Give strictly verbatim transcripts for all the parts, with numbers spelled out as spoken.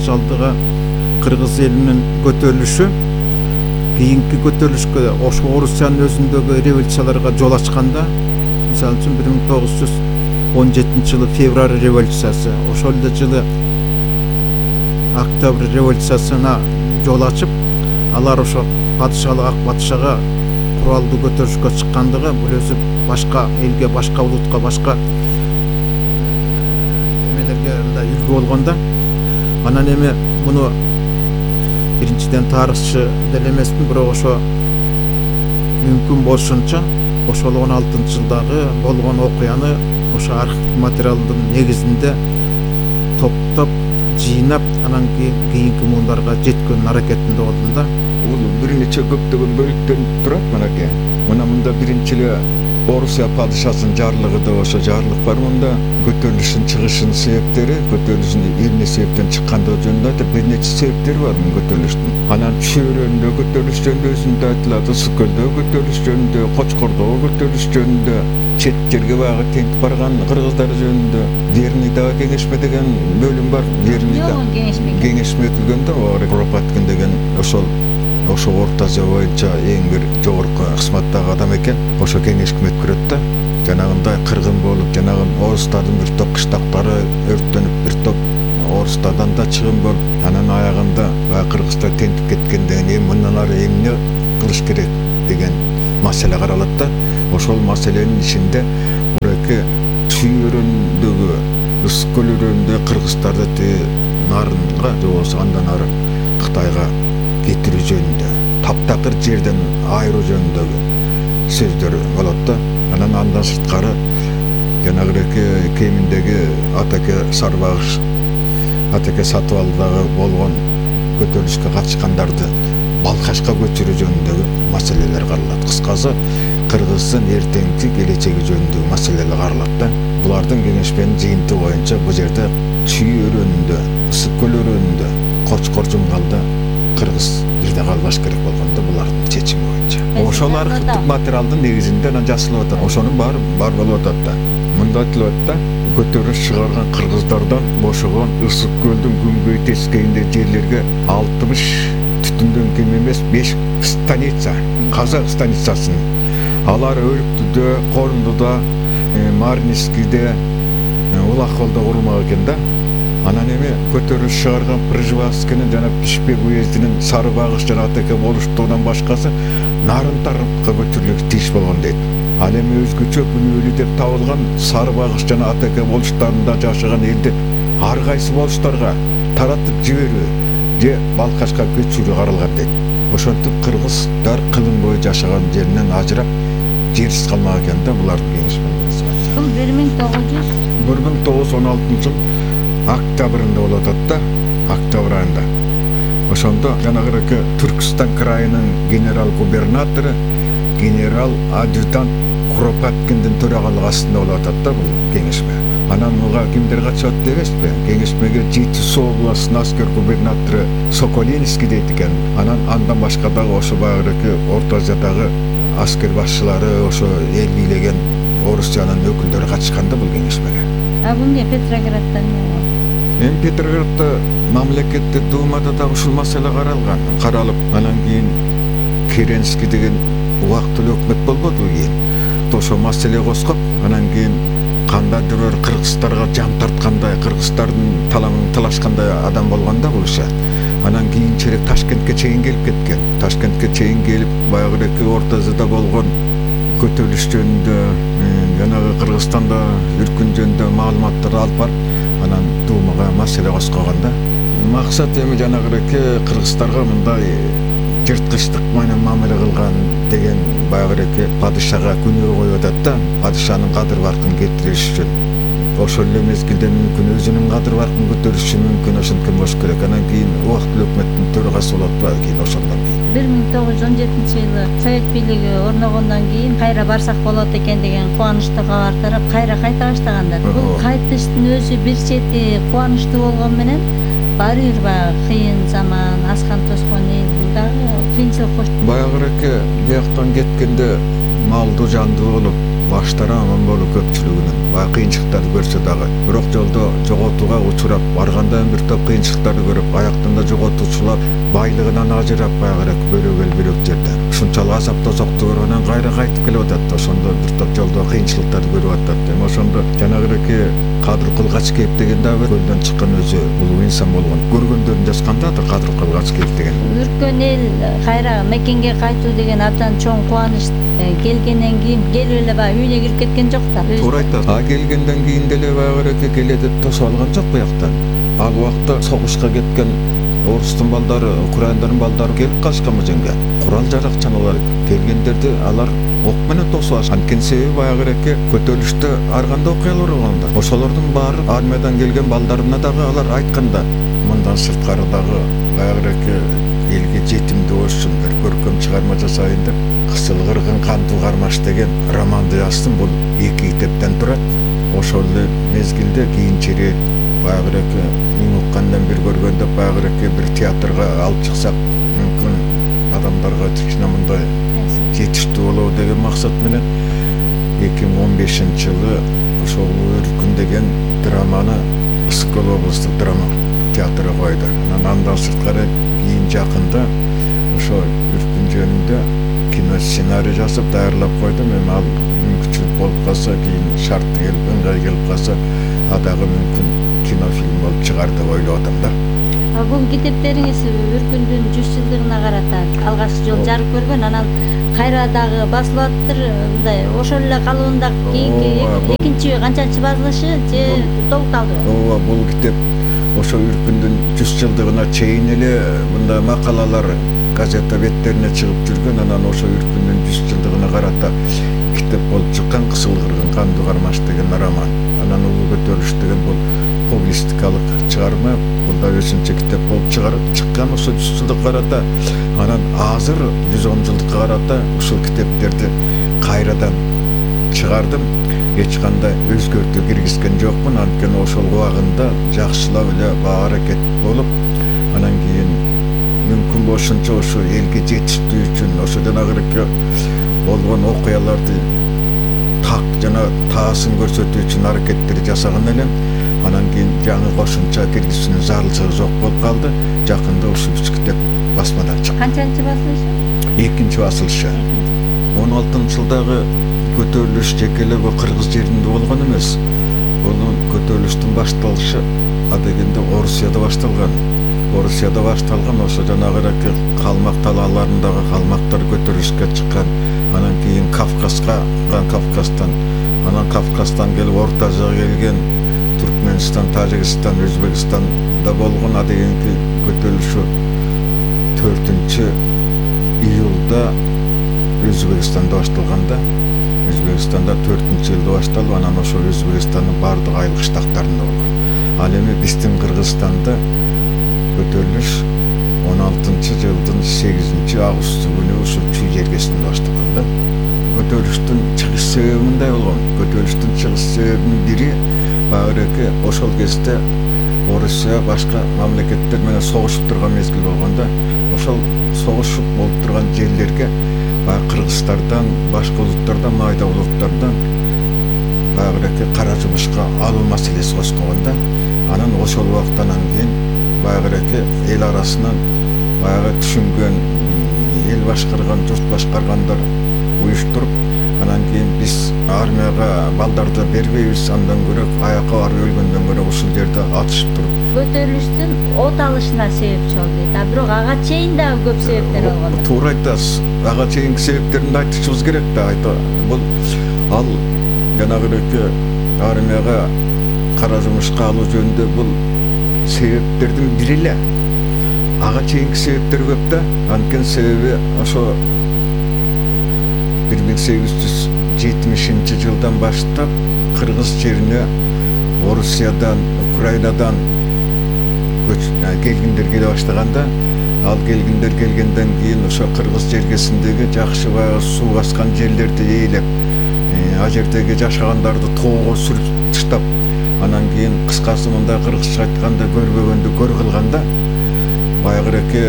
батыш алдыга кыргыз элинин көтөрүлүшү кийинки көтөрүлүшкө ошо Орусиянын өзүндөгү революцияларга жол ачканда, мисалы үчүн бир миң тогуз жүз он жетинчи жылы февраль революциясы, ошол эле жылы октябрь революциясына жол ачып, алар ошо падышалык ак батышага куралдуу көтөрүшкө чыккандыгы бул өзү башка элге, башка улутка, башка эмелерге мындай үлгү болгон да. Анан эми муну биринчиден тарыхчы деле эмесмин, бирок ошо мүмкүн болушунча ошол он алтынчы жылдагы болгон окуяны ошо архив материалдын негизинде топтоп, жыйнап, анан кийинки муундарга жеткөндүн аракетинде болдум да. Бул бир нече көптөгөн бөлүктөн турат мынакей. Мына мында биринчи эле Орусия падышасынын жарлыгы да ошо жарлык бар. Мында көтөрүлүшүн чыгышынын себептери, көтөрүлүшүн эмне себептен чыккандыгы жөнүндө айтып, бир нече себептери бар мына көтөрүлүштүн. Анан Чөйрөндө көтөрүлүш жөнүндө өзүндө айтылат, Ысык көлдө көтөрүлүш жөнүндө, Кочкордогу көтөрүлүш жөнүндө, чет жерге баягы тентип барган кыргыздар жөнүндө, Верныйдагы кеңешме деген бөлүм бар. Верныйда кеңешме өтүлгөн да, Куропаткин деген ошол ошо Орто Азия боюнча эң бир жогорку кызматтагы адам экен. Ошо кеңешме өткөрөт да. Жанагындай кыргын болуп, жанагы орустардын бир топ кыштактары өрттөнүп, бир топ орустардан да чыгым болуп, анан аягында баягы кыргыздар тентип кеткенден кийин мындан ары эмне кылыш керек деген маселе каралат да. Ошол маселенин ичинде мурайки Чүйөрөндөгү, Ысык көл өрөөнүндө кыргыздарды тиги нарынга же болбосо андан ары Кытайга кетирүү жөнүндө, таптакыр жерден айыруу жөнүндөгү сөздөр болот да. Анан андан сырткары жанагыреки кеминдеги Атаке Сарбагыш, Атаке Сатыбалдыдагы болгон көтөрүлүшкө катышкандарды Балкашка көчүрүү жөнүндөгү маселелер каралат. Кыскасы, кыргыздын эртеңки келечеги жөнүндөгү маселелер каралат да. Булардын кеңешменин жыйынты боюнча бул жерде Чүй өрөөнүндө, Ысык көл өрөөнүндө, Кочкор жумгалда кыргыз бирде калбаш керек болгондо булардын чечими боюнча. Ошол архивдик материалдын негизинде анан жасалып атат. Ошонун баары бар болуп атат да. Мында айтылат да, көтөрүлүш чыгарган кыргыздардан бошогон Ысык көлдүн күнгөй тескейинде жерлерге алтымыш түтүндөн кем эмес беш станица, казак станицасын. Алар Өрүктүдө, Корундуда, Марнискиде, Улакколдо курулмак экен да. Анан эми көтөрүлүш чыгарган Пржевальскийнин жана Бишкек уездинин Сарыбагыш жана Атаке болуштугунан башкасы нарын тарапка көчүрүлүшү тийиш болгон дейт. Ал эми өзгөчө күнөөлүү деп табылган Сарыбагыш жана Атаке болуштарында жашаган элди ар кайсы болуштарга таратып жиберүү же Балкашка көчүрүү каралган дейт. Ошентип кыргыздар кылым бою жашаган жеринен ажырап, жерсиз калмак экен да булардын кеңешмени. Бул бир миң тогуз жүз бир миң тогуз жүз он алтынчы жыл октябрында болуп атат да, октябрь айында. Ошондо жанагыреки Түркстан крайынын генерал-губернатору, генерал-адъютант Куропаткиндин төрагалыгы астында болуп атат да бул кеңешме. Анан буга кимдер катышат дебесизби? Кеңешмеге Жетису областынын аскер губернатору Соколинский дейт экен. Анан андан башка дагы ошо баягыреки Орто Азиядагы аскер башчылары, ошо эл бийлеген Орусиянын өкүлдөрү катышкан да бул кеңешмеге. А бул не Петрограддан эмне? Эми Петроградда мамлекеттик думада да ушул маселе каралган. Каралып, анан кийин Керенский деген убактылуу өкмөт болбодубу кийин. Ошо маселе козгоп, анан кийин кандайдыр бир кыргыздарга жам тарткандай, кыргыздардын таламын талашкандай адам болгон да бул иши. Анан кийинчерээк Ташкентке чейин келип кеткен. Ташкентке чейин келип, баягыреки Орто Азияда болгон көтөрүлүш жөнүндө, жанагы Кыргызстанда үркүн жөнүндө маалыматтарды алып барып, анан Думага маселе козгогон да. Максат эми жанагыреки кыргыздарга мындай жырткычтык менен мамиле кылган деген баягыреки падышага күнөө коюп атат да, падышанын кадыр баркын кетириш үчүн. Ошол эле мезгилде мүмкүн өзүнүн кадыр баркын көтөрүшү мүмкүн, ошенткен болуш керек. Анан кийин убактылуу өкмөттүн төрагасы болуп атпайбы кийин ошондон кийин. бир миң тогуз жүз он жетинчи жылы Совет бийлиги орногондон кийин кайра барсак болот экен деген кубанычтуу кабар тарап, кайра кайта баштагандар. Бул кайтыштын өзү бир чети кубанычтуу болгону менен баары бир баягы кыйын заман, аскан тоскон эл, дагы кыйынчылык кош. Баягыреки жактан кеткенде малдуу жандуу болуп, баштары аман болуп көпчүлүгүнүн баягы кыйынчылыктарды көрсө дагы, бирок жолдо жоготууга учурап, баргандан бир топ кыйынчылыктарды көрүп, аяктан да жоготуучулар байлыгынан ажырап баягырак бөлөгөл бирок жерде ушунчалык азап тозокту көргөндөн кайра кайтып келип атат. Ошондо бир топ жолдо кыйынчылыктарды көрүп атат. Эми ошондо жанагыраки Кадыр Кылгач кеп деген дагы көлдөн чыккан өзү улуу инсан болгон. Көргөндөрүн жазгандадыр Кадыр Кылгач кеп деген. Үрккөн эл кайра мекенге кайтуу деген абдан чоң кубаныч келгенден кийин келип эле баягы үйүнө кирип кеткен жок да. Туура айтасыз. А келгенден кийин деле баягыраки келе деп тосуп алган жок буяктан. Ал убакта согушка кеткен орустун балдары, украиндардын балдары келип калышкан бул жерге. Курал жаракчаналар келгендерди алар ок менен тосуп алышкан. Анткени себеби баягыраки көтөрүлүштө ар кандай окуялар болгон да. Ошолордун баары армиядан келген балдарына дагы алар айтканда, мындан сырткары дагы баягыраки элге жетимдүү болушун бир көркөм чыгарма жасайын деп Кысыл кыргын кандуу кармаш деген романды жаздым. Бул эки китептен турат. Ошол эле мезгилде кийинчерээк баягыраки мен уккандан бир көргөндө баягыраки бир театрга алып чыксак мүмкүн адамдарга кичине мындай жетиштүү болобу деген максат менен эки миң он бешинчи жылы ошол Үркүн деген драманы Ысык-Көл облустук драма театры койду. Анан андан сырткары кийин жакында ошо Үркүн жөнүндө кино сценарий жазып даярлап койдум. Эми ал мүмкүнчүлүк болуп калса, кийин шарты келип, ыңгай келип калса, а дагы мүмкүн кинофильм болуп чыгар деп ойлоп атам да. А бул китептериңиз Үркүндүн жүз жылдыгына карата алгачкы жолу жарык көргөн, анан кайра дагы басылып атыптыр. Мындай ошол эле калыбында кийинки экинчи канчанчы басылышы же толукталды? Ооба, бул китеп ошо Үркүндүн жүз жылдыгына чейин эле мындай макалалар газета беттерине чыгып жүргөн. Анан ошо Үркүндүн жүз жылдыгына карата китеп болуп чыккан Кысыл кыргын кандуу кармаш деген роман. Анан Улуу көтөрүлүш деген бул публистикалык чыгарма. Бул да өзүнчө китеп болуп чыгарып чыккан ошо жүз жылдыкка карата. Анан азыр жүз он жылдыкка карата ушул китептерди кайрадан чыгардым. Эч кандай өзгөртүү киргизген жокмун. Анткени ошол убагында жакшылап эле баа аракет болуп, анан кийин мүмкүн болушунча ошо элге жетиштүү үчүн ошо жанагыраки болгон окуяларды так жана таасын көрсөтүү үчүн аракеттер жасаган элем. Анан кийин жаңы кошумча киргизүүнүн зарылчылыгы жок болуп калды. Жакында ушул үч китеп басмадан чыкты. Канчанчы басылышы? Экинчи басылышы. он алтынчы жылдагы көтөрүлүш жеке эле бул кыргыз жеринде болгон эмес. Бул көтөрүлүштүн башталышы адегенде Орусияда башталган. Орусияда башталган ошо жанагыраки калмак талааларындагы калмактар көтөрүлүшкө чыккан. Анан кийин Кавказга, Кавказдан, анан Кавказдан келип Орто Азияга келген Түркмөнстан, Тажикстан, Өзбекстанда болгон адегенки көтөрүлүшү төртүнчү июлда Өзбекстанда башталганда, Өзбекстанда төртүнчү июлда башталып, анан ошо Өзбекстандын бардык айыл кыштактарында болгон. Ал эми биздин Кыргызстанда көтөрүлүш он алтынчы жылдын сегизинчи августу күнү ушу Чүй жергесинде башталган да. Көтөрүлүштүн чыгыш себеби мындай болгон. Көтөрүлүштүн чыгыш себебинин бири баягы ошол кезде Орусия башка мамлекеттер менен согушуп турган мезгил болгондо, ошол согушуп болуп турган жерлерге баягы кыргыздардан, башка улуттардан, майда улуттардан баягы кара жумушка алуу маселеси козгогонда, анан ошол убактан кийин баягы эл арасынан баягы түшүнгөн, эл башкарган, журт башкаргандар уюштуруп, анан кийин биз армияга балдарды бербейбиз, андан көрө аякка барып өлгөндөн көрө ушул жерде атышып туруп көтөрүлүштүн от алышына себепчи болду дейт. А бирок ага чейин дагы көп себептер болгон. Туура айтасыз. Ага чейинки себептерин да айтышыбыз керек да. Бул ал жанагыраки армияга кара жумушка алуу жөнүндө бул себептердин бири эле. Ага чейинки себептер көп да. Анткени себеби ошо бир миң сегиз жүз жетимишинчи жылдан баштап кыргыз жерине Орусиядан, Украинадан келгиндер келе баштаганда, ал келгиндер келгенден кийин ошо кыргыз жергесиндеги жакшы баягы суу баскан жерлерди ээлеп, ал жердеги жашагандарды тоого сүрүп таштап, анан кийин кыскасы мындай кыргызча айтканда көрбөгөндү көр кылганда, баягыраки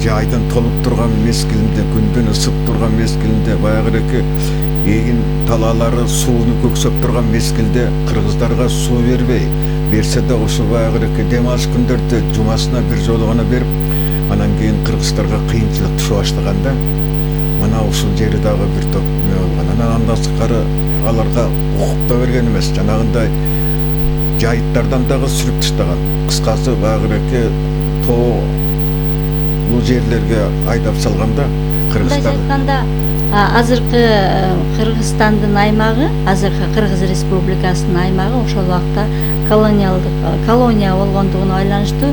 жайдын толуп турган мезгилинде, күндүн ысып турган мезгилинде, баягы эки эгин талаалары сууну көксөп турган мезгилде кыргыздарга суу бербей, берсе да ошо баягы эки дем алыш күндөрдө жумасына бир жолу гана берип, анан кийин кыргыздарга кыйынчылык түшө баштаганда, мына ушул жери дагы бир топ эме болгон. Анан андан сырткары аларга укук да берген эмес, жанагындай жайыттардан дагы сүрүп таштаган. Кыскасы баягы эки тоолуу жерлерге айдап салганда кыргыздар айтканда азыркы Кыргызстандын аймагы, азыркы Кыргыз Республикасынын аймагы ошол убакта колониалдык колония болгондугуна байланыштуу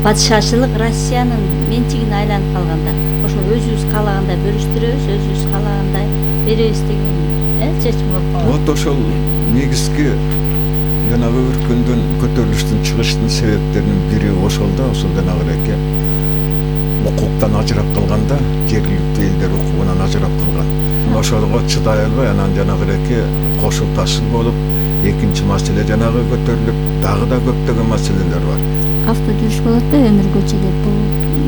падышачылык Россиянын менчигине айланып калганда, ошол өзүбүз каалагандай бөлүштүрөбүз, өзүбүз каалагандай беребиз деген чечим болуп калган. Вот ошол негизги жанагы өркүндүн көтөрүлүштүн чыгыштын себептеринин бири ошол да, ошол жанагы эки укуктан ажырап калганда, жергиликтүү элдер укугунан ажырап калган. Ошого чыдай албай анан жанагы эки кошул ташыл болуп, экинчи маселе жанагы көтөрүлүп, дагы да көптөгөн маселелер бар. Авто жүрүш болот да, өмүр көчөлөр. Бул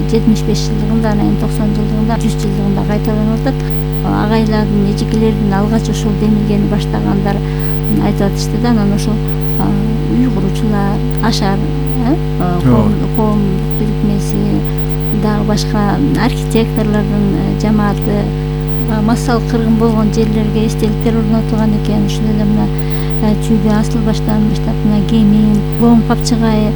жетимиш беш жылдыгында, анан токсон жылдыгында, жүз жылдыгында кайталанып атат. Агайлардын, эжекелердин алгач ошол демилгени баштагандар айтып атышты да, анан ошол үй куруучулар, Ашар коомдук бирикмеси, дагы башка архитекторлордун жамааты массалык кыргын болгон жерлерге эстеликтер орнотулган экен. Ушул эле мына Чүйдө Асыл баштан баштап мына Кемин, Боң Капчыгай,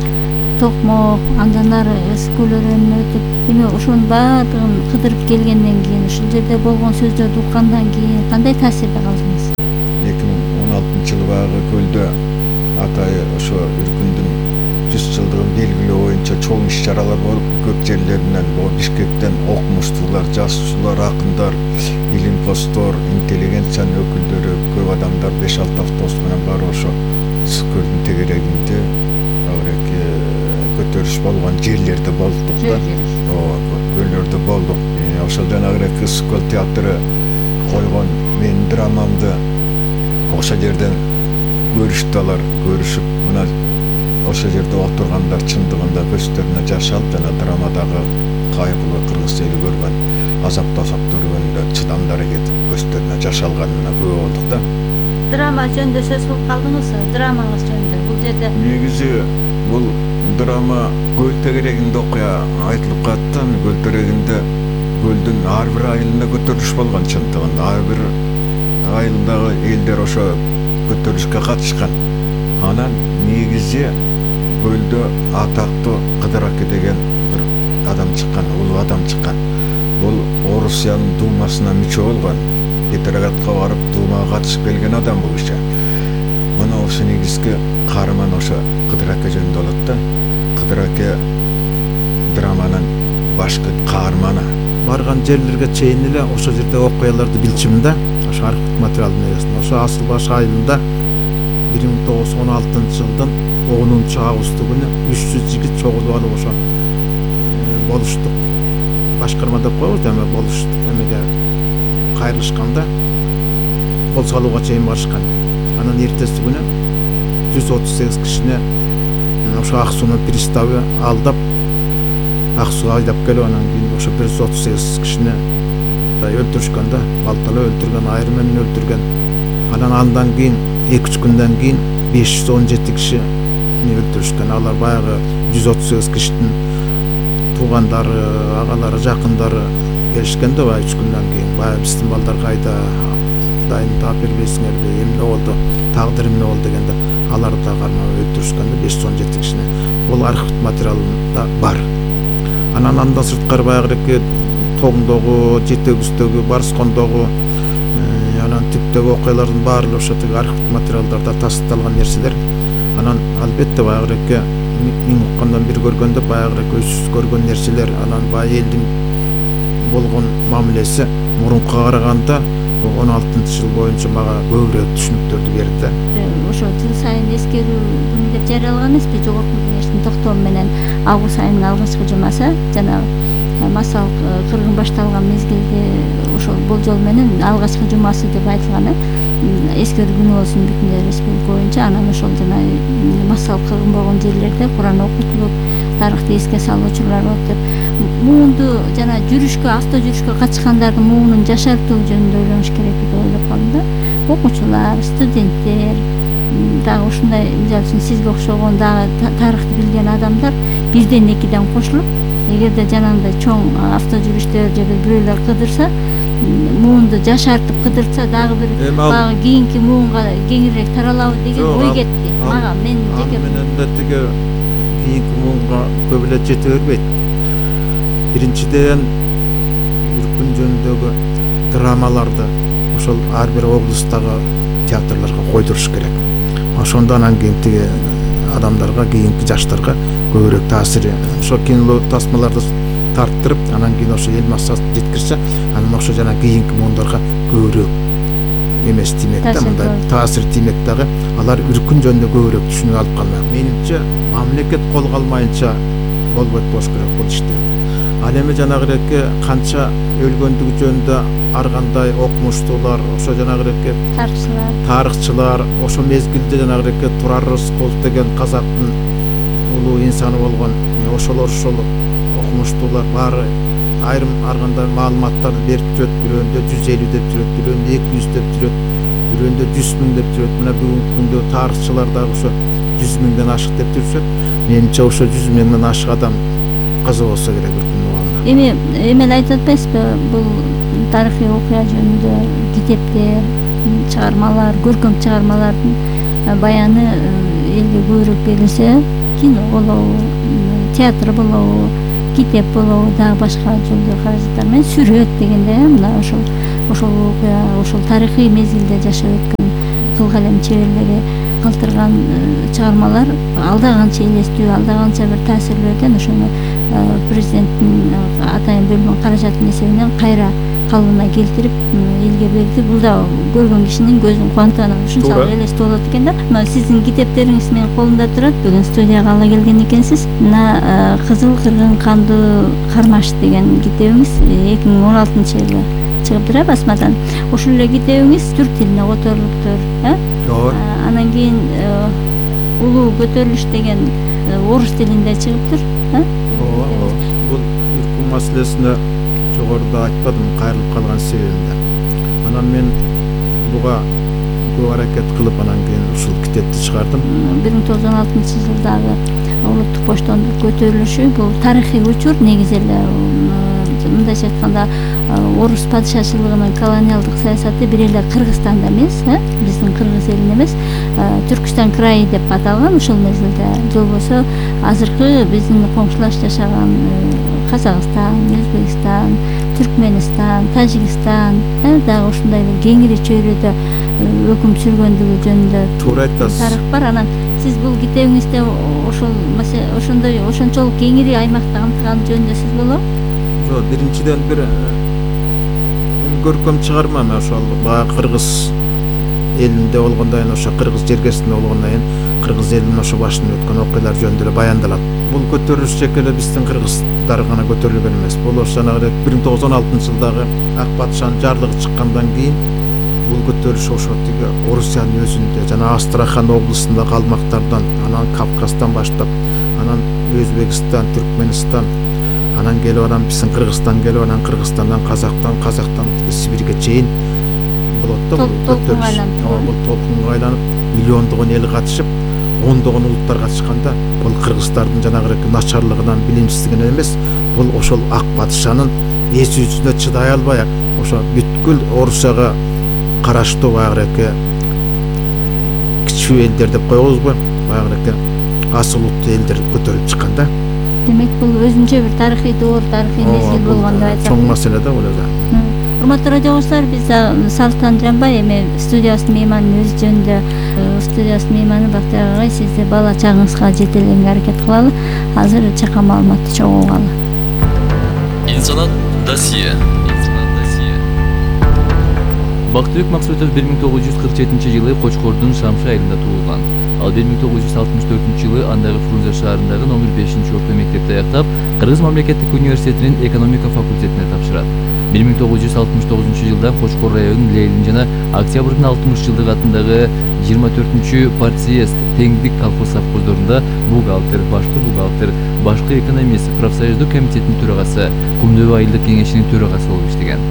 Токмок, андан ары Ысык өрөөнүнө өтүп, эми ошонун баардыгын кыдырып келгенден кийин, ушул жерде болгон сөздөрдү уккандан кийин кандай таасирде калдыңыз? эки миң он алтынчы жылы баягы көлдө атайы ошо өркүндүн жүз жылдыгын белгилөө боюнча чоң иш-чаралар болуп, көп жерлеринен, Бишкектен окумуштуулар, жазуучулар, акындар, илимпоздор, интеллигенциянын өкүлдөрү, көп адамдар беш алты автобус менен барып ошо Ысык көлдүн тегерегинде эки көтөрүш болгон жерлерде болдук да. Ооба, көлдөрдө болдук. Ошол жанагы эки Ысык көл театры койгон менин драмамды ошол жерден көрүштү алар, көрүшүп, мына ошол жерде отургандар чындыгында көздөрүнө жаш алып, жана драмадагы кайгылуу кыргыз эли көргөн азап тасап көргөндө чыдамдары кетип, көздөрүнө жаш алганына күбө болдук да. Драма жөнүндө сөз кылып калдыңызбы? Драмаңыз жөнүндө бул жерде негизи бул драма көл тегерегинде окуя айтылып калат да. Көл тегерегинде көлдүн ар бир айылында көтөрүлүш болгон чындыгында. Ар бир айылдагы элдер ошо көтөрүлүшкө катышкан. Анан негизи көлдө атактуу Кыдыр аке деген бир адам чыккан, улуу адам чыккан. Бул Орусиянын думасына мүчө болгон. Петроградка барып думага катышып келген адам бул киши. Мына ошо негизги каарман ошо Кыдыр аке жөнүндө болот да. Кыдыр аке драманын башкы каарманы. Барган жерлерге чейин эле ошол жерде окуяларды билчүмүн да. Ошо архив материалдын негизинде. Ошо Асылбаш айылында бир миң тогуз жүз он алтынчы жылдын онунчу августу күнү үч жүз жигит чогулуп алып ошо болуштук. Башкарма деп коебуз да, эме болуштук эмеге кайрылышканда кол салууга чейин барышкан. Анан эртеси күнү жүз отуз сегиз кишини ошо Ак суунун приставы алдап Ак сууга айдап келип, анан кийин ошо бир жүз отуз сегиз кишини өлтүрүшкөн да, балталап өлтүргөн, айрым менен өлтүргөн. Анан андан кийин эки үч күндөн кийин беш жүз он жети кишини өлтүрүшкөн. Алар баягы жүз отуз сегиз кишинин туугандары, агалары, жакындары келишкен да, баягы үч күндөн кийин. Баягы биздин балдар кайда, дайым таап бербейсиңерби, эмне болду, тагдыр эмне болду дегенде, аларды да кармап өлтүрүшкөн да, беш жүз он жети кишини. Бул архив материалында бар. Анан андан сырткары баягы эки Тоңдогу, Жетегүздөгү, Барскондогу, анан типтеги окуялардын баары ошо тиги архив материалдарда тасталган нерселер. Анан албетте баягы эки миң уккандан бир көргөндө баягы көзсүз көргөн нерселер, анан баягы элдин болгон мамилеси мурункуга караганда он алтынчы жыл боюнча мага көбүрөөк түшүнүктөрдү берди. Ошо жыл сайын эскерүү күнү деп жарыялаган эмеспи, жогорку кеңештин токтому менен август айынын алгачкы жумасы жанагы массалык кыргын башталган мезгилде ошол болжол менен алгачкы жумасы деп айтылган. Эскерүү күнү болсун бүтүн республика боюнча. Анан ошол жана массалык кыргын болгон жерлерде Куран окутулуп, тарыхты эске салуу учурлары болуп деп муунду жана жүрүшкө авто жүрүшкө катышкандардын муунун жашартуу жөнүндө ойлонуш керек деп ойлоп калдым да. Окуучулар, студенттер, дагы ушундай мисалы үчүн сизге окшогон дагы тарыхты билген адамдар бирден экиден кошулуп, эгерде жанагындай чоң авто жүрүштөр же бирөөлөр кыдырса, муунду жашартып кыдырса дагы бир баягы кийинки муунга кеңирээк таралабы деген ой кетти мага. Мен жеке менен да тиги кийинки муунга көп эле жете бербейт. Биринчиден үркүн жөнүндөгү драмаларды ошол ар бир облустагы театрларга койдуруш керек. Ошондо анан кийин тиги адамдарга, кийинки жаштарга көбүрөөк таасир, ошо кино тасмаларды тарттырып, анан кийин ошо эл массасын жеткирсе, анан ошо жана кийинки муундарга көбүрөөк эмес тимек да, мындай таасир тимек дагы. Алар үркүн жөнүндө көбүрөөк түшүнүп алып калмак. Менимче мамлекет кол калмайынча болбойт болуш керек бул иште. Ал эми жанагыреки канча өлгөндүгү жөнүндө ар кандай окумуштуулар, ошо жанагыреки тарыхчылар, тарыхчылар, ошо мезгилде жанагыреки Турар Рыскулов деген казактын улуу инсаны болгон, ошолор ошол окумуштуулар баары айрым ар кандай маалыматтарды берип жүрөт. Бирөөндө жүз элүү деп жүрөт, бирөөндө эки жүз деп жүрөт, бирөөндө жүз миң деп жүрөт. Мына бүгүнкү күндө тарыхчылар дагы ошо жүз миңден ашык деп жүрүшөт. Менимче ошо жүз миңден ашык адам каза болсо керек үркүн убагында. Эми эме айтып атпайсызбы, бул тарыхый окуя жөнүндө китептер, чыгармалар, көркөм чыгармалардын баяны элге көбүрөөк берилсе, кино болобу, театр болобу, китеп болобу, дагы башка жолдо каражаттар менен сүрөт дегенде, мына ошол ошол окуя, ошол тарыхый мезгилде жашап өткөн кыл калем чеберлери калтырган чыгармалар алда канча элестүү, алда канча бир таасирлерден ошону президенттин атайын бөлгөн каражаттын эсебинен кайра калыбына келтирип элге берди. Бул да көргөн кишинин көзүн кубантып, анан ушунчалык элестүү болот экен да. Мына сиздин китептериңиз менин колумда турат. Бүгүн студияга ала келген экенсиз. Мына Кызыл кыргын кандуу кармаш деген китебиңиз эки миң он алтынчы жылы чыгыптыр басмадан. Ушул эле китебиңиз түрк тилине которулуптур, э? Ооба. Анан кийин улуу көтөрүлүш деген орус тилинде чыгыптыр, э? Ооба. Бул үркүн маселесине жогоруда айтпадым, кайрылып калган себебимде. Анан мен буга көп аракет кылып, анан кийин ушул китепти чыгардым. бир миң тогуз жүз он алтынчы жылдагы улуттук боштондук көтөрүлүшү бул тарыхый учур. Негизи эле мындайча айтканда орус падышачылыгынын колониалдык саясаты бир эле Кыргызстанда эмес, биздин кыргыз элинде эмес, Түркүстан крайы деп аталган ушул мезгилде. Же болбосо азыркы биздин коңшулаш жашаган Казакстан, Өзбекстан, Түркмөнстан, Тажикстан, дагы ушундай бир кеңири чөйрөдө өкүм сүргөндүгү жөнүндө туура айтасыз. Тарых бар. Анан сиз бул китебиңизде ошол ошондой ошончолук кеңири аймакты камтыган жөнүндө сөз болобу? Жок, биринчиден бир көркөм чыгарма, ошол баягы кыргыз элинде болгондон, ошо кыргыз жергесинде болгондон, кыргыз элинин ошо башынан өткөн окуялар жөнүндө эле баяндалат. Бул көтөрүлүш жеке эле биздин кыргыздар гана көтөрүлгөн эмес. Бул ошо жанагы бир миң тогуз жүз он алтынчы жылдагы Ак Батышанын жарлыгы чыккандан кийин бул көтөрүлүш ошо тиги Орусиянын өзүндө жана Астрахан облусундагы аймактардан, анан Кавказдан баштап, анан Өзбекстан, Түркмөнстан, анан келип анан биздин Кыргызстан келип, анан Кыргызстандан, Казактан, Казактан Сибирге чейин болот да бул көтөрүлүш. Бул толкунга айланып, миллиондогон эл катышып, ондогон улуттар катышканда, бул кыргыздардын жанагы начарлыгынан, билимсиздигинен эмес, бул ошол Ак Батышанын эс жүзүнө чыдай албай, ошо бүткүл Орусияга караштуу баягы кичүү элдер деп коебузбу, баягы асыл улуттуу элдер көтөрүлүп чыккан да. Демек бул өзүнчө бир тарыхый доор, тарыхый мезгил болгон деп айтсак. Чоң маселе да бул өзү. Урматтуу радио угуучулар, биз Салтан Жанбай эми студиябыздын мейманын өзү жөнүндө, студиябыздын мейманы Бактыяр агай, сизди бала чагыңызга жетелегенге аракет кылалы. Азыр чакан маалыматты чогуу алалы. Инсанат досье. Бактыбек Максутов бир миң тогуз жүз кырк жетинчи жылы Кочкордун Шамшы айылында туулган. Ал бир миң тогуз жүз алтымыш төртүнчү жылы андагы Фрунзе шаарындагы номер бешинчи орто мектепти аяктап, Кыргыз мамлекеттик университетинин экономика факультетине тапшырат. бир миң тогуз жүз алтымыш тогузунчу жылдан Кочкор районунун Лейлин жана Октябрдын алтымыш жылдык атындагы жыйырма төртүнчү партсъезд теңдик колхоз совхоздорунда бухгалтер, башкы бухгалтер, башкы экономист, профсоюздук комитеттин төрагасы, Кум дөбө айылдык кеңешинин төрагасы болуп иштеген.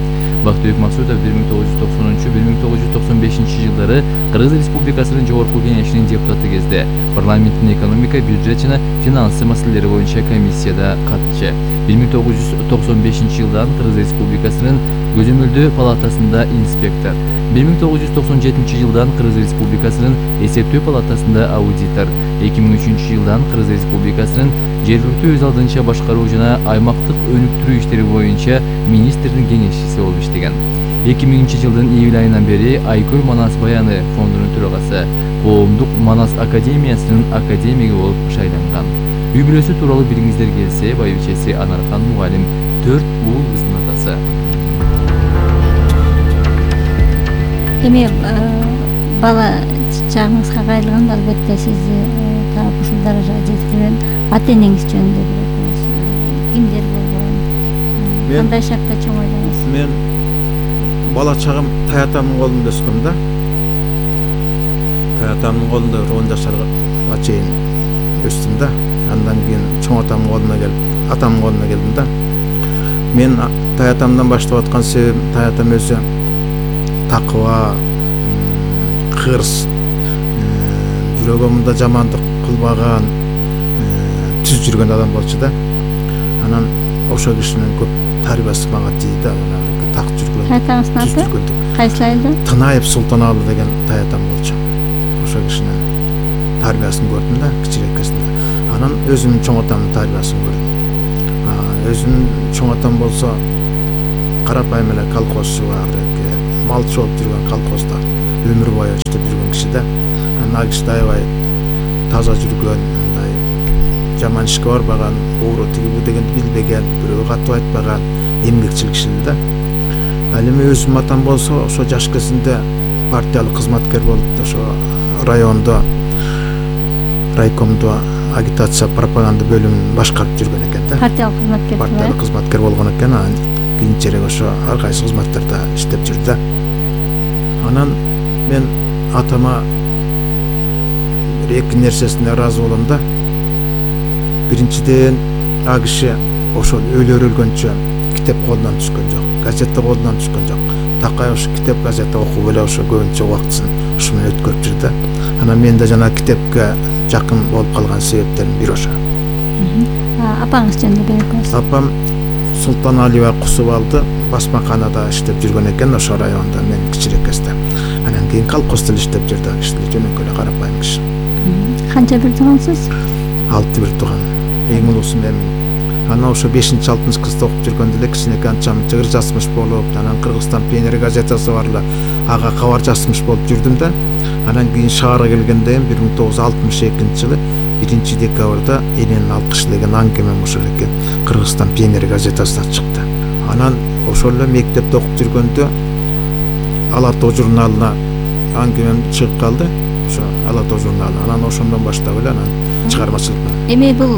Бактыбек Максутов бир миң тогуз жүз токсонунчу — бир миң тогуз жүз токсон бешинчи жылдары Кыргыз Республикасынын Жогорку кеңешинин депутаты кезде парламенттин экономика, бюджет жана финансы маселелери боюнча комиссияда катчы. бир миң тогуз жүз токсон бешинчи жылдан Кыргыз Республикасынын Көзөмөлдөө палатасында инспектор, бир миң тогуз жүз токсон жетинчи жылдан Кыргыз Республикасынын Эсептөө палатасында аудитор, эки миң үчүнчү жылдан Кыргыз Республикасынын жергиликтүү өз алдынча башкаруу жана аймактык өнүктүрүү иштери боюнча министрдин кеңешчиси болуп иштеген. эки миңинчи жылдын июль айынан бери Айкөл Манас Баяны фондунун төрагасы, Коомдук Манас академиясынын академиги болуп шайланган. Үй бүлөсү тууралуу билгиңиздер келсе, байбичеси Анархан мугалим, төрт уул кыздын атасы. Эми бала чагыңызга кайрылганда албетте сизди таап ушул даражага жеткирген ата энеңиз жөнүндө бирөөбүз кимдер болгон, кандай шартта чоңойдуңуз? Мен бала чагым таятамдын колунда өскөм да. Таятамдын колунда он жашарга чейин өстүм да. Андан кийин чоң атамдын колуна келип, атамдын колуна келдим да. Мен таятамдан баштап аткан себебим, таятам өзү такыба, кырс, жүрөгүмдө жамандык кылбаган, түз жүргөн адам болчу да. Анан ошол кишинин көп тарбиясы мага тийди. Так жүргөн. Таятаңыздын аты кайсы айылда? Тынаев Султаналы деген таятам болчу. Ошол кишинин тарбиясын көрдүм да, кичирээкесинде. Анан өзүмдүн чоң атамдын тарбиясын көрдүм. Өзүмдүн чоң атам болсо карапайым эле колхозчу бар, малчы болуп жүргөн колхозда өмүр бою иштеп жүргөн киши да. Анан киши аябай таза жүргөн, мындай жаман ишке барбаган, оору тиги бу дегенди билбеген, бирөөгө катып айтпаган, эмгекчил киши да. Ал эми өзүм атам болсо ошо жаш кезинде партиялык кызматкер болуп, ошо райондо, райкомдо агитация пропаганда бөлүмүн башкарып жүргөн экен да. Партиялык кызматкер. Партиялык кызматкер болгон экен. Анан кийинчерээк ошо ар кайсы кызматтарда иштеп жүрдү да. Анан мен атама бир эки нерсесине ыраазы болом да. Биринчиден, а киши ошол өлөр өлгөнчө китеп колунан түшкөн жок, газета колунан түшкөн жок. Такай ошо китеп, газета окуп эле ошо көбүнчө убактысын ушу менен өткөрүп жүрдү. Анан мен да жана китепке жакын болуп калган себептерим бир ошо. Апаңыз жөнүндө белгилеңиз. Апам Султаналиева Кусубалды басмаканада иштеп жүргөн экен ошо районда, мен кичирээк кезде. Анан кийин колхоздо иштеп жүрдү, киши жөнөкөй эле карапайым киши. Канча бир туугансыз? Алты бир тууган. Эң улуусу мен. Анан ошо бешинчи алтынчы класста окуп жүргөндө эле кичинекей анчам жыр жазмыш болуп, анан Кыргызстан пионер газетасы бар эле, ага кабар жазмыш болуп жүрдүм да. Анан кийин шаарга келгенде бир миң тогуз жүз алтымыш экинчи жылы биринчи декабрда Эненин алкышы деген аңгемем ошол экен Кыргызстан пионер газетасына чыкты. Анан ошол эле мектепте окуп жүргөндө Ала тоо журналына аңгемем чыгып калды. Ошо Ала тоо журналы. Анан ошондон баштап эле анан чыгармачылыкка. Эми бул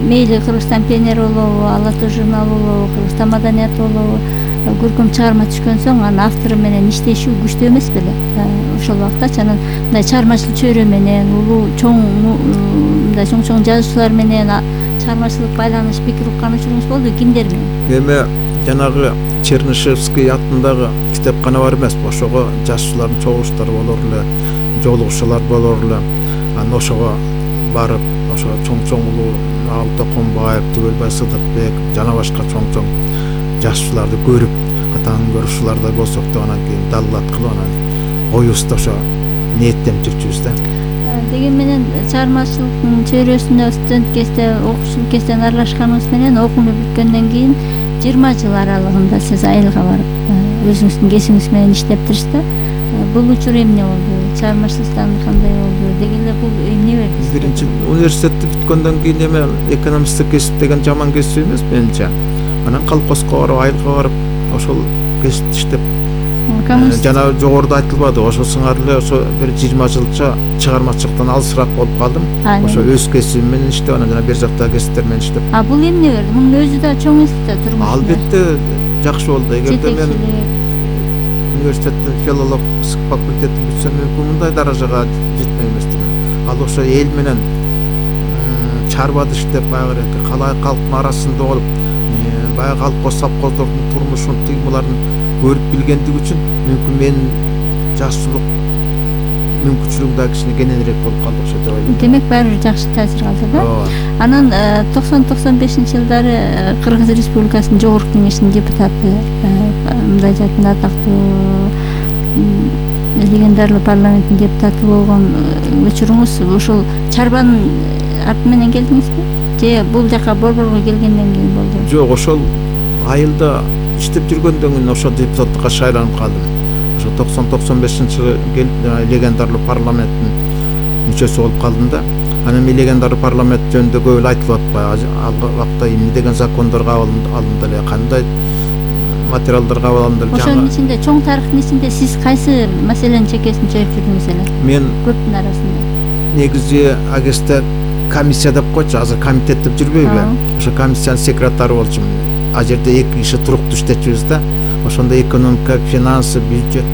мейли Кыргызстан пионер болобу, Ала тоо журналы болобу, Кыргызстан маданияты болобу, көркөм чыгарма түшкөн соң анын автору менен иштешүү күчтүү эмес беле? Ошол убактачы анан мындай чыгармачылык чөйрө менен улуу чоң мындай чоң-чоң жазуучулар менен чыгармачылык байланыш, пикир укканчылыгыңыз болду, кимдер менен? Эми жанагы Чернышевский атындагы китепкана бар эмеспи? Ошого жазуучулардын чогулуштары болор эле, жолугушуулар болор эле. Анан ошого барып, ошо чоң-чоң улуу Ал Токонбаев, Түгөлбай Сыдыкбек жана башка чоң-чоң жазуучуларды көрүп, атаңын көрүшүүлөрдө болсок да анан кийин даллат кылып анан коюбузда ошо ниеттенип жүрчүбүз да. Деген менен чыгармачылыктын чөйрөсүндө студент кезде, окуучулук кезден аралашканыңыз менен окууну бүткөндөн кийин жыйырма жыл аралыгында сиз айылга барып өзүңүздүн кесибиңиз менен иштептирсиз да. Бул учур эмне болду? Чыгармачылыктан кандай болду? Деги эле бул эмне берди? Биринчи университетти бүткөндөн кийин эме экономисттик кесип деген жаман кесип эмес менимче. Анан колхозго барып, айылга барып, ошол кесипти иштеп жана жогоруда айтылбады, ошо сыңар эле ошо бир жыйырма жылча чыгармачылыктан алысыраак болуп калдым. Ошо өз кесибим менен иштеп, анан жана бир жактагы кесиптер менен иштеп. А бул эмне берди? Мунун өзү да чоң эс да турмуш. Албетте жакшы болду. Эгерде мен университеттин филология факультетин бүтсөм мүмкүн мындай даражага жетмей эместимин. Ал ошо эл менен чарбады иштеп, баягы калай калктын арасында болуп, баягы колхоз совхоздордун турмушун, тыймаларын көрүп билгендиги үчүн мүмкүн менин жашчылык мүмкүнчүлүгүм да кичине кененирээк болуп калды окшойт деп ойлойм. Демек баары бир жакшы таасир калды да. Анан токсон токсон бешинчи жылдары Кыргыз Республикасынын Жогорку Кеңешинин депутаты, мындай жактын атактуу легендарлуу парламенттин депутаты болгон учуруңуз ошол чарбанын арты менен келдиңизби? Же бул жака Борборго келгенден кийин болду? Жок, ошол айылда иштеп жүргөндөн кийин ошол депутаттыкка шайланып калдым. Ошо токсон токсон бешинчи жылы келип легендарлуу парламенттин мүчөсү болуп калдым да. Анан мен легендарлуу парламент жөнүндө көп эле айтылып атпайбы? Ал убакта эмне деген закондор кабыл алынды эле, кандай материалдар кабыл алынды эле? Ошонун ичинде, чоң тарыхтын ичинде сиз кайсы маселенин чекесин чөйүп жүрдүңүз эле? Мен көптүн арасында. Негизи агесте комиссия деп койчу, азыр комитет деп жүрбөйбү? Ошо комиссиянын секретары болчумун. А жерде эки киши туруктуу иштечүбүз да. Ошондо экономика, финансы, бюджет,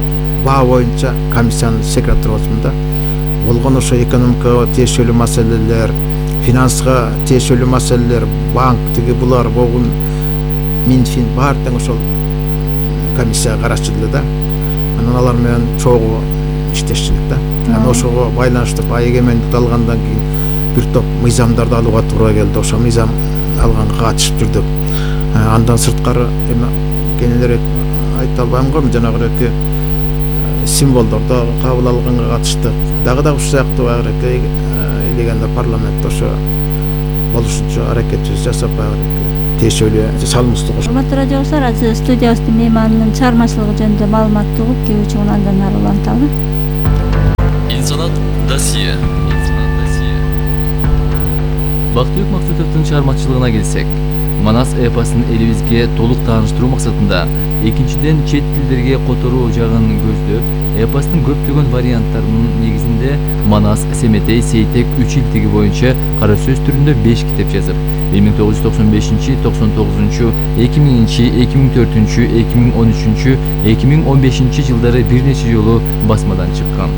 баа боюнча комиссиянын секретары болчумун да. Болгон ошо экономикага тиешелүү маселелер, финансыга тиешелүү маселелер, банк тиги булар болгон Минфин баары тең ошол комиссияга карашчу эле да. Анан алар менен чогуу иштешчүлүк да. Анан ошого байланыштуу эгемендикти алгандан кийин бир топ мыйзамдарды алууга туура келди. Ошо мыйзам алганга катышып жүрдүк. Андан сырткары эми кененирээк айта албайм го, жанагы эки символдорду кабыл алганга катыштык. Дагы да ушул сыяктуу баягы элегенде парламентте ошо болушунча аракетибизди жасап баягы тиешелүү салымыбызды коштук. Урматтуу радио достор, азыр студиябыздын мейманынын чыгармачылыгы жөнүндө маалыматты угуп, кээ үчүн андан ары уланталы. Инсанат досье. Бактыбек Максутовдун чыгармачылыгына келсек, Манас эпосун элибизге толук тааныштыруу максатында экинчиден чет тилдерге которуу жагын көздөп, эпостун көптөгөн варианттарынын негизинде Манас, Семетей, Сейтек үч илтиги боюнча кара сөз түрүндө беш китеп жазып, бир миң тогуз жүз токсон бешинчи, токсон тогузунчу, эки миңинчи, эки миң төртүнчү, эки миң он үчүнчү, эки миң он бешинчи жылдары бир нече жолу басмадан чыккан.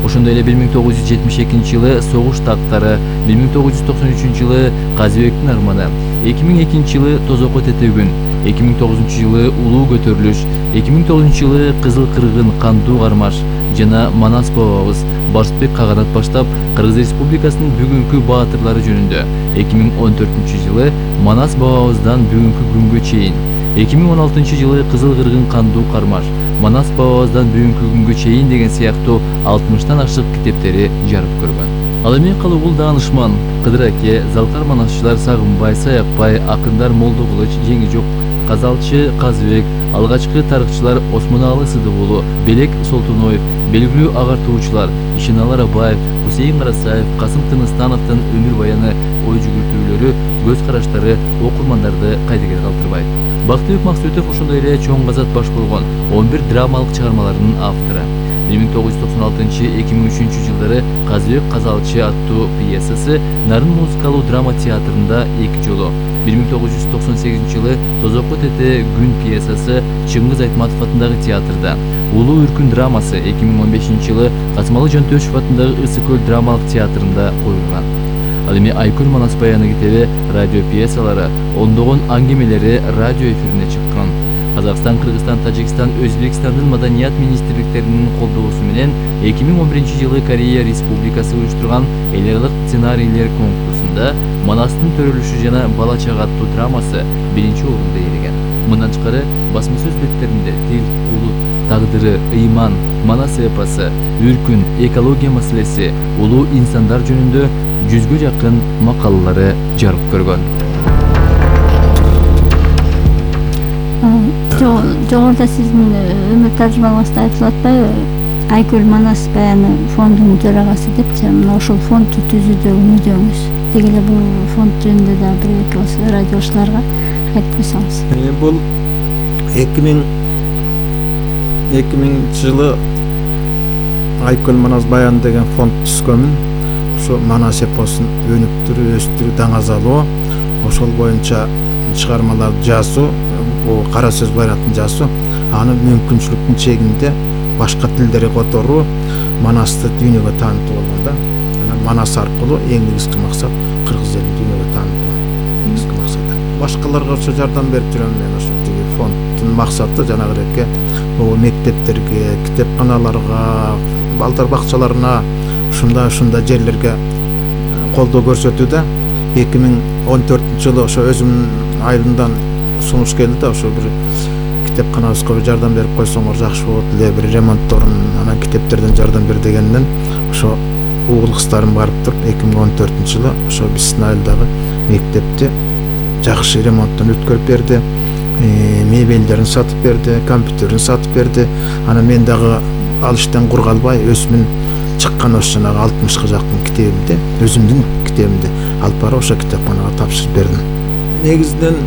Ошондой эле бир миң тогуз жүз жетимиш экинчи жылы Согуш тактары, бир миң тогуз жүз токсон үчүнчү жылы Казыбектин арманы, эки миң экинчи жылы Тозокко тетегүн, эки миң тогузунчу жылы Улуу көтөрүлүш, эки миң тогузунчу жылы Кызыл кыргын кандуу кармаш жана Манас бабабыз Барсбек Каганат баштап Кыргыз Республикасынын бүгүнкү баатырлары жөнүндө, эки миң он төртүнчү жылы Манас бабабыздан бүгүнкү күнгө чейин, эки миң он алтынчы жылы Кызыл кыргын кандуу кармаш, Манас бабабыздан бүгүнкү күнгө чейин деген сыяктуу алтымыштан ашык китептери жарык көргөн. Ал эми калыбул даанышман Кыдыр аке, залкар манасчылар Сагынбай, Саякбай, акындар Молдо Кылыч, Жеңижок, Казалчы Казыбек, алгачкы тарыхчылар Осмоналы Сыдыгулу, Белек Солтуноев, белгилүү агартуучулар Ишеналы Абаев, Хусейин Карасаев, Касым Тыныстановдун өмүр баяны, ой жүгүртүүлөрү, көз караштары окурмандарды кайдыгер калтырбайт. Бактыбек Максутов ошондой эле чоң казат баш болгон он бир драмалык чыгармаларынын автору. бир миң тогуз жүз токсон алтынчы — эки миң үчүнчү жылдары Казыбек Казалчы аттуу пьесасы Нарын музыкалуу драма театрында эки жолу, бир миң тогуз жүз токсон сегизинчи жылы Тозокко тете күн пьесасы Чыңгыз Айтматов атындагы театрда, Улуу үркүн драмасы эки миң он бешинчи жылы Касымалы Жөнтөшев атындагы Ысык көл драмалык театрында коюлган. Ал эми Айкөл Манас баяны китеби, радио пьесалары, ондогон аңгемелери радио эфирине чыккан. Казакстан, Кыргызстан, Тажикстан, Өзбекстандын маданият министрликтеринин колдоосу менен эки миң он биринчи жылы Корея Республикасы уюштурган эл аралык сценарийлер конкурсунда Манастын төрөлүшү жана бала чага аттуу драмасы биринчи орунду ээлеген. Мындан тышкары басма сөз беттеринде тил, улут, тагдыры, ыйман, Манас эпосы, үркүн, экология маселеси, улуу инсандар жөнүндө жүзгө жакын макалалары жарык көргөн. Жогоруда сиздин өмүр тажрыйбаңызда айтылып атпайбы? Айкөл Манас баяны фондунун төрагасы депчи, мына ошол фондду түзүүдө мүддөңүз. Деги эле бул фонд жөнүндө да бир эки радиочуларга айтып койсоңуз. Бул эки миң эки миңинчи жылы Айкөл Манас баяны деген фонд түзгөнмүн. Ошо Манас эпосун өнүктүрүү, өстүрүү, даңазалоо, ошол боюнча чыгармаларды жазуу, о кара сөз байратын жазуу, аны мүмкүнчүлүктүн чегинде башка тилдерди которуу, Манасты дүйнөгө таанытуу болгондо, анан Манас аркылуу эң негизги максат кыргыз элин дүйнөгө таанытуу негизги максаты. Башкаларга ошо жардам берип жүрөм мен. Ошо тиги фонддун максаты жанагыдек могу мектептерге, китепканаларга, балдар бакчаларына, ушундай ушундай жерлерге колдоо көрсөтүүдө. эки миң он төртүнчү жылы ошо өзүмдүн айылымдан сунуш келди да, ошо бир китепканабызга бир жардам берип койсоңор жакшы болот эле, бир ремонтторун, анан китептерден жардам бер дегенден ошо угул кыздарым барып туруп эки миң он төртүнчү жылы ошо биздин айылдагы мектепти жакшы ремонттон өткөрүп берди, мебелдерин сатып берди, компьютерин сатып берди. Анан мен дагы ал иштен кур калбай өзүмдүн чыккан ошо жанагы алтымышка жакын китебимди, өзүмдүн китебимди алып барып ошо китепканага тапшырып бердим. Негизинен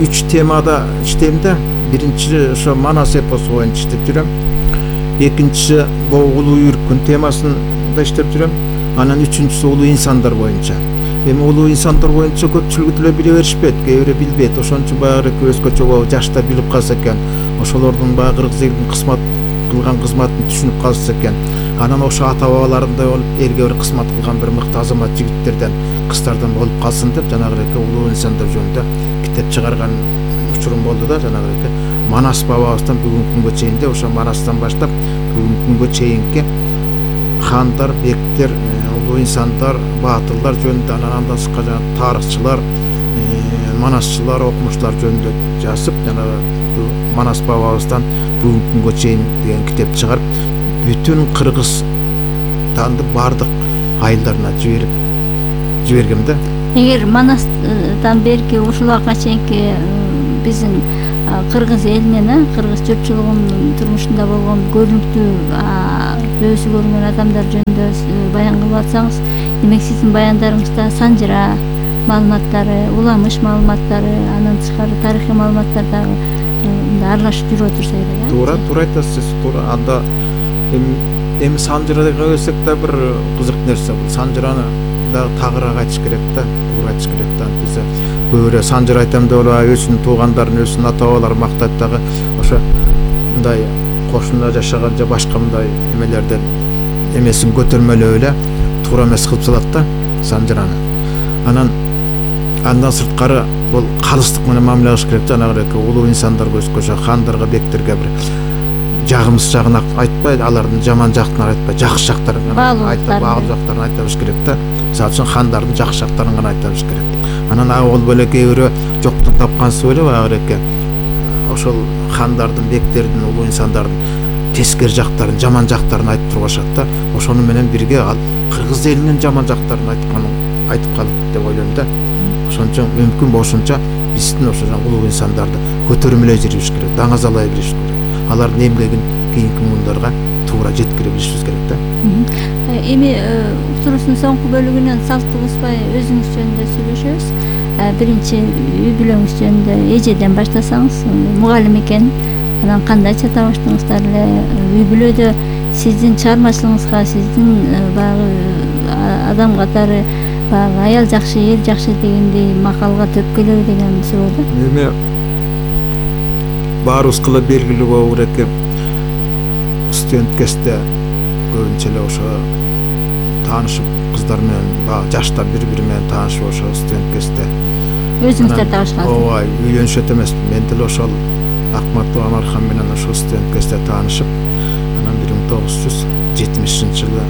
үч темада иштейм да. Биринчи ошо Манас эпосу боюнча иштеп жүрөм. Экинчиси бул улуу үйрүккүн темасында иштеп жүрөм. Анан үчүнчүсү улуу инсандар боюнча. Эми улуу инсандар боюнча көпчүлүгү деле биле беришпейт, кээ бирөө билбейт. Ошон үчүн баягы өзгөчө жаштар билип калса экен, ошолордун баягы кыргыз элинин кызмат кылган кызматын түшүнүп калса экен. Анан ошо ата бабаларындай болуп элге бир кызмат кылган бир мыкты азамат жигиттерден, кыздардан болуп калсын деп жанагыдек улуу инсандар жөнүндө китеп чыгарган учурум болду да. Жанагыдек Манас бабабыздан бүгүнкү күнгө чейин де ошо Манастан баштап бүгүнкү күнгө чейинки хандар, бектер, улуу инсандар, баатырлар жөнүндө, анан андан сырткары жана тарыхчылар, манасчылар, окумуштар жөнүндө жазып, жанагы Манас бабабыздан бүгүнкү күнгө чейин деген китеп чыгарып, бүтүн Кыргызстанды бардык айылдарына жиберип жибергем да. Эгер Манастан берки ушул убакка чейинки биздин кыргыз элинин, кыргыз жұртчылыгынын турмушунда болгон көрүнүктүү төбөсү көрүнгөн адамдар жөнүндө баян кылып атсаңыз, демек сиздин баяндарыңызда санжыра маалыматтары, уламыш маалыматтары, андан тышкары тарыхый маалыматтар дагы аралашып жүрүп отурса эле. Туура, туура айтасыз, туура. Анда эми санжырага келсек да бир кызык нерсе бул. Санжыраны дагы тагыраак айтыш керек да, туура айтыш керек да. Биз көбүрөөк санжыр айтам деп эле өзүнүн туугандарын, өзүнүн ата бабаларын мактайт дагы, ошо мындай кошуна жашаган же башка мындай эмелерден эмесин көтөрмөлөп эле туура эмес кылып салат да санжыраны. Анан андан сырткары бул калыстык менен мамиле кылыш керек. Жанагыдек улуу инсандарга, өзгөчө хандарга, бектерге бир жагымсыз жагын айтпай, алардын жаман жактарын айтпай, жакшы жактарын гана айтып, баалуу жактарын айта билиш керек да. Мисалы үчүн хандардын жакшы жактарын гана айта билиш керек. Анан ал болуп эле кээ бирөө жоктун тапкансыз эле баягыдек ошол хандардын, бектердин, улуу инсандардын тескери жактарын, жаман жактарын айтып тургашат да. Ошону менен бирге ал кыргыз элинин жаман жактарын айтканын айтып калат деп ойлойм да. Ошон үчүн мүмкүн болушунча биздин ошо улуу инсандарды көтөрмөлөй жүрүш керек, даңазалай билиш керек. Алардын эмгегин кийинки муундарга туура жеткире билишибиз керек да. Эми уктуруубуздун соңку бөлүгүнөн салтты бузбай өзүңүз жөнүндө сүйлөшөбүз. Биринчи үй бүлөңүз жөнүндө эжеден баштасаңыз, мугалим экен, анан кандайча табыштыңыздар эле? Үй бүлөдө сиздин чыгармачылыгыңызга, сиздин баягы адам катары баягы аял жакшы, эр жакшы дегендей макалга төп келеби деген суроо да. Эми баарыбызга эле белгилүү болуу керек, студент кезде көбүнчө эле ошо таанышып кыздар менен, баягы жаштар бири-бири менен таанышып ошо студент кезде өзүңүздөр таанышкансыз. Ооба, үйлөнүшөт эмесмин. Мен деле ошол Акматова Анархан менен ошо студент кезде таанышып, анан бир миң тогуз жүз жетимишинчи жылы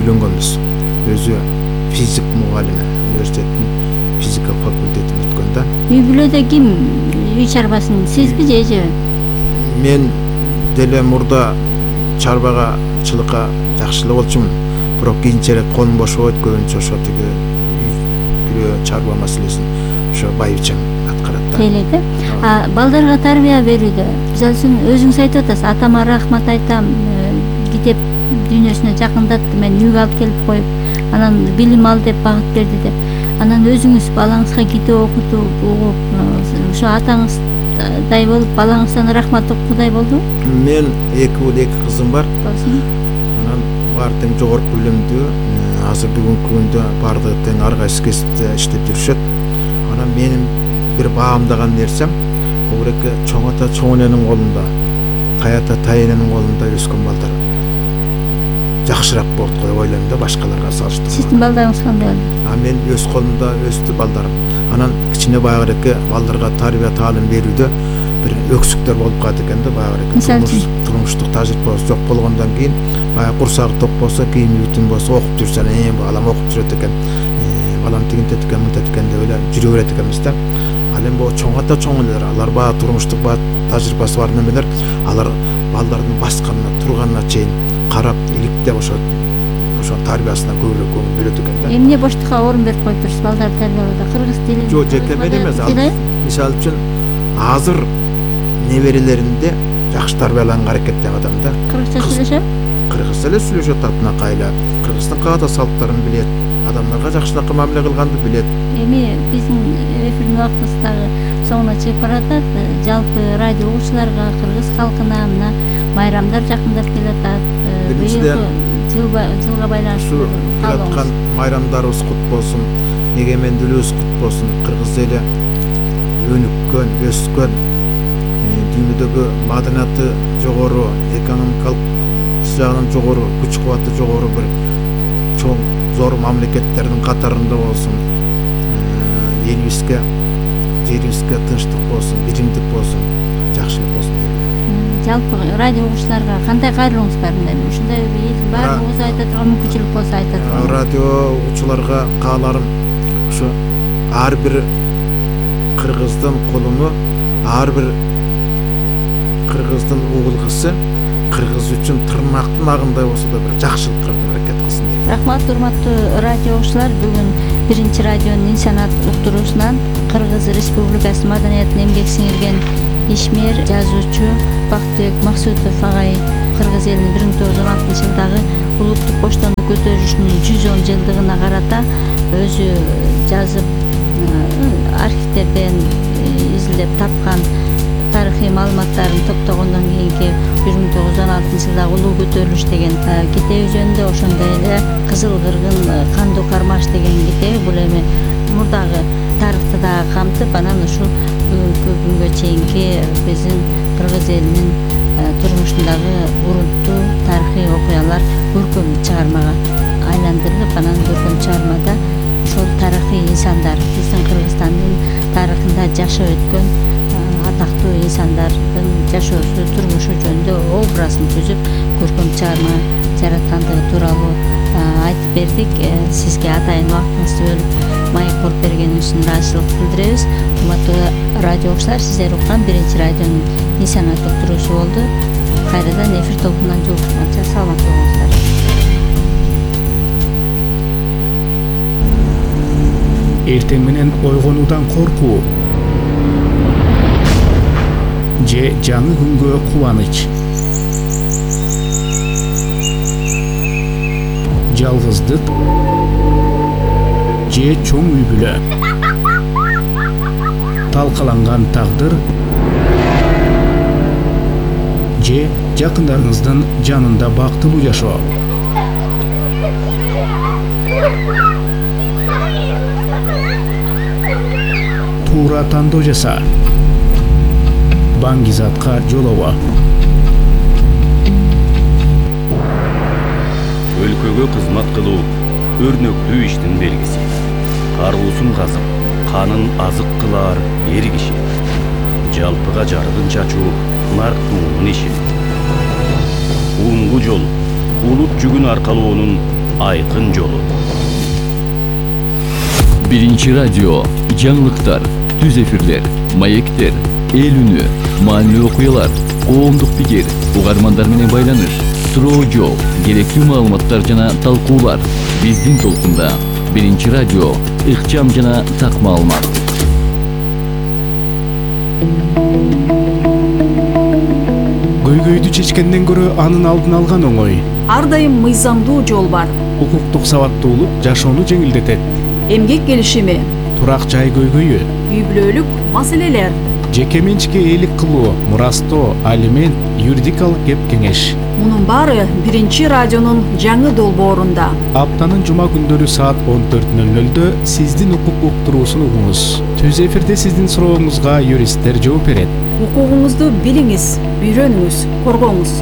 үйлөнгөнбүз. Өзү физик мугалими, университеттин физика факультетин бүткөн да. Үй бүлөдө ким үй чарбасын, сизби же эжеби? Мен деле мурда чарбага, чылыкка жакшы эле болчумун. Бирок кийинчерээк колум бошобойт, көбүнчө ошо тиги үй чарба маселесин ошо байбичем аткарат да. Келет э? А балдарга тарбия берүүдө, мисалы үчүн өзүңүз айтып атасыз, атама рахмат айтам, китеп дүйнөсүнө жакындатты, мен үйгө алып келип коюп, анан билим ал деп багыт берди деп. Анан өзүңүз балаңызга китеп окутуп, угуп, ошо атаңыздай болуп, балаңыздан рахмат уккудай болдубу? Мен эки уул, эки кызым бар. Анан баары тең жогорку билимдүү, азыр бүгүнкү күндө баардыгы тең ар кайсы кесипте иштеп жүрүшөт. Анан менин бир баамдаган нерсем, Огуреке чоң ата чоң эненин колунда, тай ата тай эненин колунда өскөн балдар жакшыраак болот го деп ойлойм да, башкаларга салыштырмалуу. Сиздин балдарыңыз кандай болду? А мен өз колумда өстү балдарым. Анан кичине баягыреке балдарга тарбия таалим берүүдө бир өксүктөр болуп калат экен да, баягыреке. Мисалы үчүн? Турмуштук тажрыйбасы жок болгондон кийин баягы курсагы ток болсо, кийими бүтүн болсо окуп жүрсөң, э балам окуп жүрөт экен, балам тигинтет экен, мынтет экен деп эле жүрө берет экенбиз да. Ал эми могу чоң ата чоң энелер, алар баягы турмуштук баягы тажрыйбасы бар немелер, алар балдардын басканына, турганына чейин карап, иликтеп ошо ошо тарбиясына көбүрөөк көңүл бөлөт экен да. Эмне боштукка орун берип коюп турсуз балдарды тарбиялоодо? Кыргыз тилин? Жок, жеке мен эмес. Мисалы үчүн азыр неберелеринде жакшы тарбияланганга аракеттеги адам да. Кыргызча сүйлөшөбү? Кыргызча эле сүйлөшөт, атынакайла. Кыргыздын каада салттарын билет, адамдарга жакшынакай мамиле кылганды билет. Эми биздин эфирдин убактыбыз дагы соңуна чыгып баратат. Жалпы радио угуучуларга, кыргыз халкына мына майрамдар жакындап келатат. Биринчиден жылга жылга байланыштуу келаткан майрамдарыбыз кут болсун, эгемендүүлүгүбүз кут болсун. Кыргыз эли өнүккөн, өскөн, дүйнөдөгү маданияты жогору, экономикалык жагынан жогору, күч кубаты жогору бир чоң зор мамлекеттердин катарында болсун. Элибизге, жерибизге тынчтык болсун, биримдик болсун, жакшылык болсун дейм. Жалпы радио угуучуларга кандай кайрылууңуз бар? Мына ушундай элдин баардыгыбыз айта турган мүмкүнчүлүк болсо айта турган. Радио угуучуларга кааларым ушу ар бир кыргыздын колуну, ар бир кыргыздын угулгысы кыргыз үчүн тырнактын агындай болсо да бир жакшылык кылып аракет кылсын дейм. Рахмат, урматтуу радио угуучулар. Бүгүн биринчи радионун инсанат уктуруусунан Кыргыз Республикасы маданиятына эмгек сиңирген ишмер, жазуучу Бактыбек Максутов агай кыргыз элинин бир миң тогуз жүз он алтынчы жылдагы улуттук коштондук көтөрүлүшүнүн жүз он жылдыгына карата өзү жазып, архивдерден изилдеп тапкан тарыхый маалыматтарын топтогондон кийинки бир миң тогуз жүз он алтынчы жылдагы улуу көтөрүлүш деген китеби жөнүндө, ошондой эле Кызыл кыргын кандуу кармаш деген китеби, бул эми мурдагы тарыхты дагы камтып, анан ушул бүгүнкү күнгө чейинки биздин кыргыз элинин турмушундагы урунттуу тарыхый окуялар көркөм чыгармага айландырылып, анан көркөм чыгармада ошол тарыхый инсандар, биздин Кыргызстандын тарыхында жашап өткөн атактуу инсандардын жашоосу, турмушу жөнүндө образын түзүп көркөм чыгарма жараткандыгы тууралуу айтып бердик. Сизге атайын убактыңызды бөлүп маек коруп бергениңиз үчүн ыраазычылык билдиребиз. Урматтуу радио угуучулар, сиздер уккан биринчи радионун инсанат уктуруусу болду. Кайрадан эфир тобунан жолугушканча саламат болуңуздар. Эртең менен ойгонуудан коркуу же жаңы күнгө кубаныч, жалгыздык же чоң үй бүлө, талкаланган тагдыр же жакындарыңыздын жанында бактылуу жашоо. Туура тандоо жаса, баңгизатка жолобо. Өлкөгө кызмат кылуу өрнөктүү иштин белгиси. Каруусун казып, канын азык кылар эр киши. Жалпыга жарыгын чачуу нарктуунун иши. Уңгу жол улут жүгүн аркалоонун айкын жолу. Биринчи радио, жаңылыктар, түз эфирлер, маектер, эл үнү, маанилүү окуялар, коомдук пикир, угармандар менен байланыш, суроо жол, керектүү маалыматтар жана талкуулар. Биздин толкунда биринчи радио, ыкчам жана так маалымат. Көйгөйдү чечкенден көрө анын алдын алган оңой. Ар дайым мыйзамдуу жол бар. Укуктук сабаттуулук жашоону жеңилдетет. Эмгек келишими, Турак жай көйгөйү, үй бүлөлүк маселелер. жеке менчикке ээлик кылуу, мурастоо, алимент, юридикалык кеп кеңеш. Мунун баары биринчи радионун жаңы долбоорунда. Аптанын жума күндөрү саат он төрт нөл нөлдө сиздин укук уктуруусун угуңуз. Түз эфирде сиздин сурооңузга юристтер жооп берет. Укугуңузду билиңиз, үйрөнүңүз, коргоңуз.